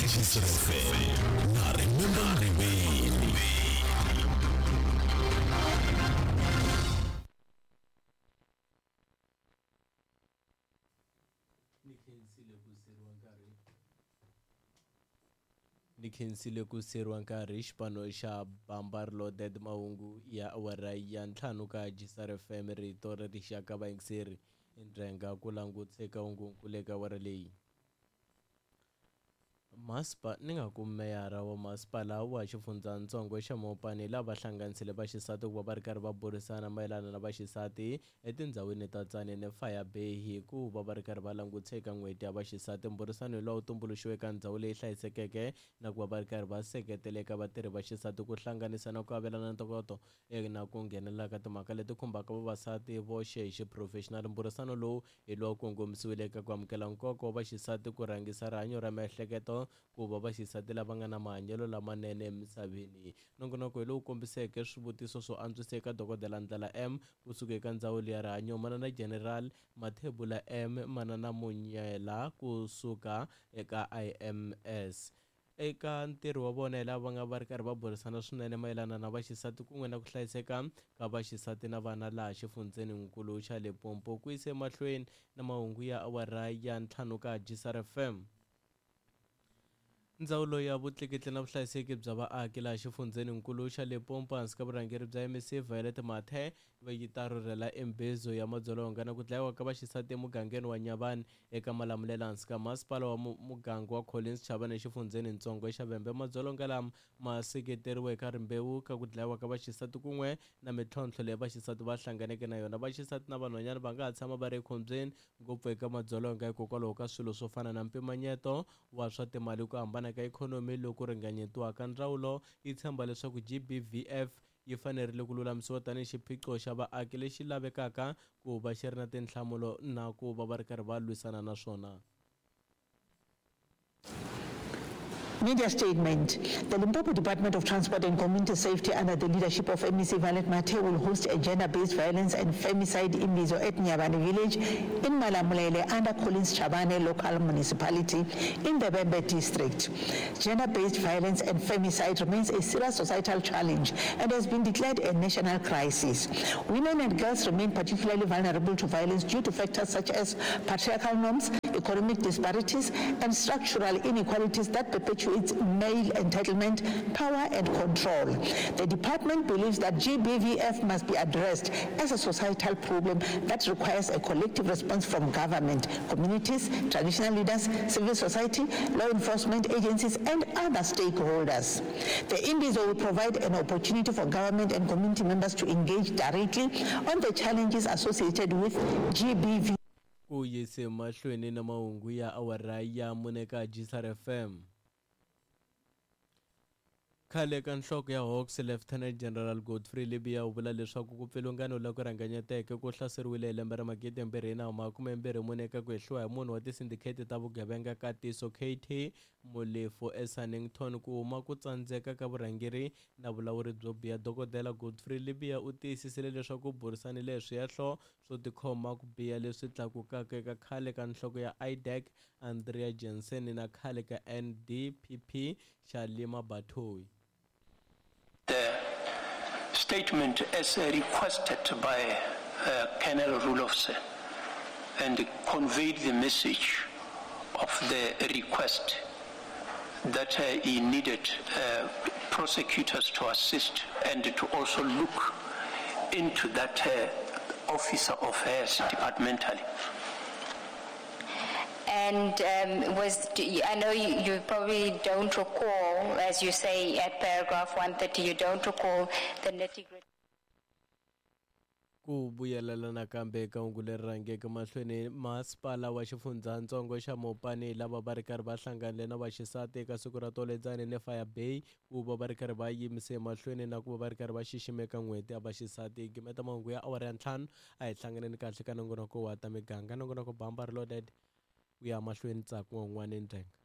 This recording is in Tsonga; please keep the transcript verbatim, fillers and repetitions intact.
G F M na Remember Ngwini. Ni khensile ku seriwa nkarhi xipano xa Bambar Loaded mahungu ya awara ya ntlhanu ka G S R F M rito ra rixaka vayingiseri ndrenga ku languteka hungu eka awara leyi. Maspa ni nga ku meyara wa masipala wa xifundzatsongo xa Mopani lava hlanganisile vaxisati ku va va ri karhi va burisana mayelana na vaxisati etindhawini ta Tzaneen Fire Bay hi ku va va ri karhi va languteka n'hweti ya vaxisati. Mburisano lowu tumbuluxiweke eka ndhawu leyi hlayisekeke na ku va va ri karhi va seketeleka vatirhi va xisati ku hlanganisa na ku avelana ntokoto na ku nghenelela ka timhaka leti khumbaka vavasati voxe hi xiphurofexinali. Mburisano lowu hi lowu kongomisiwile eka ku amukela nkoka wa vaxisati ku rhangisa rihanyo ra miehleketo ku va vaxisati lava nga na mahanyelo lamanene emisaveni. Nongonoko hi lowu kombiseke swivutiso swo antswisa eka Dokodela Ndlela M kusuka eka ndzawulo ya rihanyo, Manana General Mathebula M, Manana Munyela kusuka eka I M S. Eka ntirho wa vona hi lava va nga va ri karhi va burisana swinene mayelana na vaxisati kun'we na ku hlayiseka ka vaxisati na vana laha xifundzeninkulu xa Limpopo. Ku yisa emahlweni na mahungu ya awara ya ntlhanu ka G S R F M. Ndzawulo ya vutleketli na vuhlayiseki bya vaaki laha xifundzeninkulu xa Limpopo hansi ka vurhangeri bya M C Violet Mathe va yi ta rhurhela embezo ya madzolonga na ku dlayiwa ka vaxisati emugangeni wa Nyavani eka Malamulele hansi ka masipala wa muganga wa Collins Chabane exifundzenintsongo xa Vhembe. Madzolonga lama ma seketeriwe eka rimbewu ka ku dlayiwa ka vaxisati kun'we na mintlhontlho leyi vaxisati va hlanganeke na yona. Vaxisati na vanhwanyana va nga ha tshama va ri ekhombyeni ngopfu eka madzolonga hikokwalaho ka swilo swo fana na mpimanyeto wa swa timali, ku hambana ka ikhonomi loku ringanyetiwaka. Ndzawulo yi tshemba leswaku G B V F yi fanerile ku lulamisiwa tanihi xiphiqo xa vaaki lexi lavekaka ku va xi ri na tinhlamulo na ku va va ri karhi va lwisana na swona. Media statement. The Limpopo Department of Transport and Community Safety under the leadership of M E C Violet Mathe will host a gender-based violence and femicide imbizo at Nyabani village in Malamulele under Collins Chabane local municipality in the Bembe district. Gender-based violence and femicide remains a serious societal challenge and has been declared a national crisis. Women and girls remain particularly vulnerable to violence due to factors such as patriarchal norms, economic disparities, and structural inequalities that perpetuate its male entitlement, power, and control. The department believes that G B V F must be addressed as a societal problem that requires a collective response from government, communities, traditional leaders, civil society, law enforcement agencies, and other stakeholders. The Imbizo will provide an opportunity for government and community members to engage directly on the challenges associated with G B V. Ku yise mahlweni na mahungu ya awara ya mune ka G S R F M. Khale ka nhloko ya Hawks Lieutenant General Godfrey Libya u vula leswaku ku pfilungano loku rhanganyeteke ku hlaseriwile hi lembe ra magidi mbirhi na makume mbirhi mune eka ku hehliwa hi munhu wa tisindikheti ta vugevenga ka Tiso K T Molefe eSannington ku huma ku tsandzeka ka vurhangeri na vulawuri byo biha. Dokodela Godfrey Libya u tiyisisile leswaku u burisanile hi swihehlo swo tikhoma ku biha leswi tlakukaka eka khale ka nhloko ya I D E C Andrea Jensen na khale ka N D P P Shalima Batohi. The statement as requested by uh, Colonel Rulofse and conveyed the message of the request that uh, he needed uh, prosecutors to assist and to also look into that uh, officer of hers departmentally. And um, was, I know you, you probably don't recall, as you say at paragraph one thirty, you don't recall the nitty-gritty. Ku vuyelela nakambe eka hungu leri rhangeke mahlweni, masipala wa xifundzatsongo xa Mopani lava va ri karhi va hlanganile na vaxisati eka siku ra toledzani ne Fire Bay ku va va ri karhi va yimise emahlweni na ku va va ri karhi va xiximeka n'hweti ya vaxisati. Gimeta mahungu ya awara ya ntlhanu a hi hlanganeni kahle ka nongonoko wa ta miganga. Nongonoko Bamba Reloaded ku ya mahlweni ntsako wun'wana ndrenga.